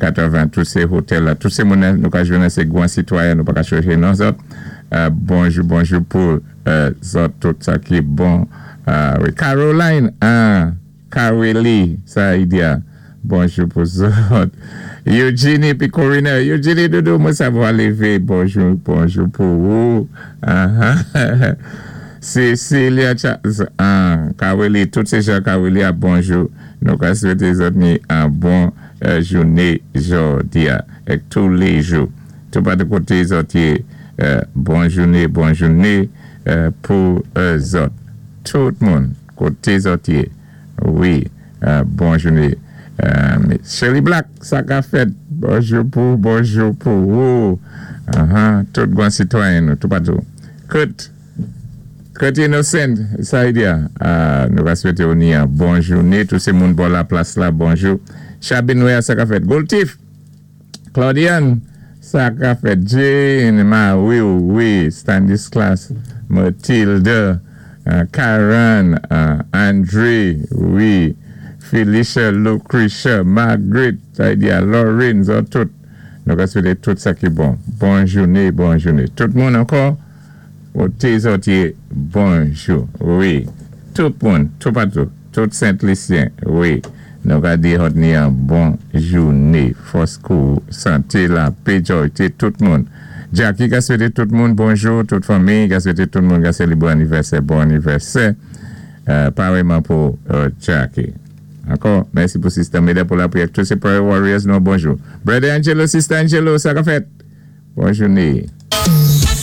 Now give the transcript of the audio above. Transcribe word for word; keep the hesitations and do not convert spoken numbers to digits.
katwanven, tout sé otèl la, tout sé moun nou ka jwenn sé gwan sitwayen, nou pa ka chwézi non zòt. Euh, bonjou, bonjou pou euh, zòt, tout sa ki bon. Euh, wi. Caroline, ah, Caroli, sa i di. Bonjou pou zòt. Eugenie pi Corina. Eugenie Doudou, mwen savwa lévé. Bonjou, bonjou pou ou. Uh-huh. Cecilia ah, Caroli, tout sé jan Caroli a bonjou. Nou ka swété zòt ni an bon euh, jouné jòdi a, èk tou lé jou. Tout pa de koté zòt yé, euh, bon jouné, bon jouné euh, pou euh, zòt. Tout moun, koté zòt yé. Wi, euh, bon jouné. Euh, Shirley Black, sa ka fèt. Bonjou pou, bonjou pou ou. Uh-huh. Tout bon sitwayen nou, tout patou. Kurt, Kurt Innocent, sa i di a. Uh, nou va swété ou ni an bon jouné. Tout sé moun bò la plas la, bonjou. Chabin Wea, sa ka fèt. Goltif, Claudiane, sa ka fèt. Jane, ma, wi, wi, Stanislas, Mathilde, uh, Karen, uh, André, wi, Felicia, Lucretia, Margaret, sa i di a, Lauren, zòt tout. Nou ka swété tout sa ki bon. Bon jouné, bon jouné. Tout moun ankò, koté zòt yé, bonjou. Wi. Tout moun, tout patou, tout Sent-Lisyen, wi. Nou ka di zòt ni an bon jouné. Fòs kou, santé, lapè, jòyté, tout moun. Jackie ka swété tout moun bonjou, tout fanmi ka swété tout moun ka sélébwé anivèsè, bon anivèsè. Euh, parèyman pou euh, Jackie. Ankò, mèsi pou Sister Meda pou lapriyè. Tout sé Prayer Warriors, nou bonjou. Brother Angelo, Sister Angelo, sa ka fèt? Bon jouné.